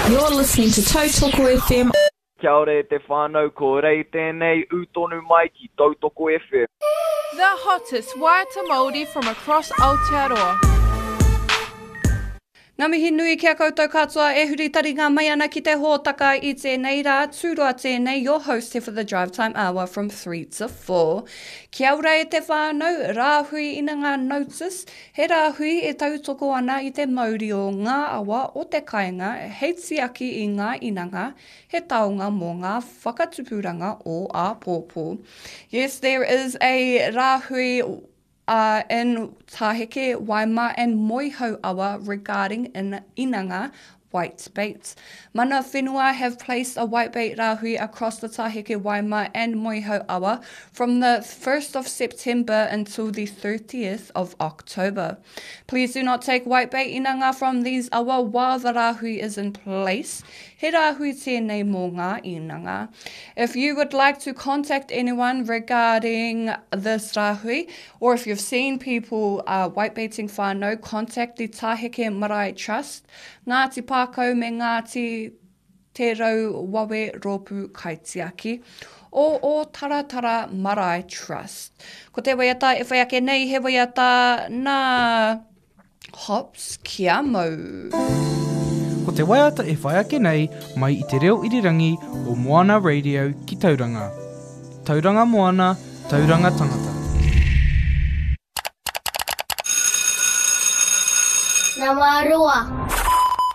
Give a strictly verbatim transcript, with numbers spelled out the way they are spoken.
You're listening to Tautoko FM. Kia ora e te whānau, ko Rei tēnei, ū tonu mai ki Tautoko FM. The hottest waiata Māori from across Aotearoa. Ngā mihi nui ki a koutou katoa e huri taringa mai ana ki te hōtaka i tēnei rā, tūroa tēnei, your host here for the drive time hour from three to four. Kia ora e te whānau, rāhui ina ngā notice, he rāhui e tautoko ana i te mauri o ngā awa o te kāinga hei tiaki i ngā inanga, he taonga mō ngā whakatupuranga o āpōpō. Yes, there is a rāhui uh, in Taheke, Waima and Moehau awa regarding in inanga white bait. Mana whenua have placed a whitebait rāhui across the Taheke, Waima and Moehau awa from the first of September until the thirtieth of October. Please do not take whitebait inanga from these awa while the rāhui is in place. He rāhui tēnei mō ngā inanga. If you would like to contact anyone regarding this rāhui, or if you've seen people, uh, whitebaiting whānau, contact the Taheke Marae Trust, Ngāti Pākau me Ngāti Te Rau Wawe Rōpū Kaitiaki, o o Taratara Marae Trust. Ko te waiata e whai ake nei, he waiata nā Hops Kia Mau. Ko te waiata e whai ake nei mai i te reo irirangi o Moana Radio ki Tauranga. Tauranga Moana, Tauranga Tangata. Nama roa.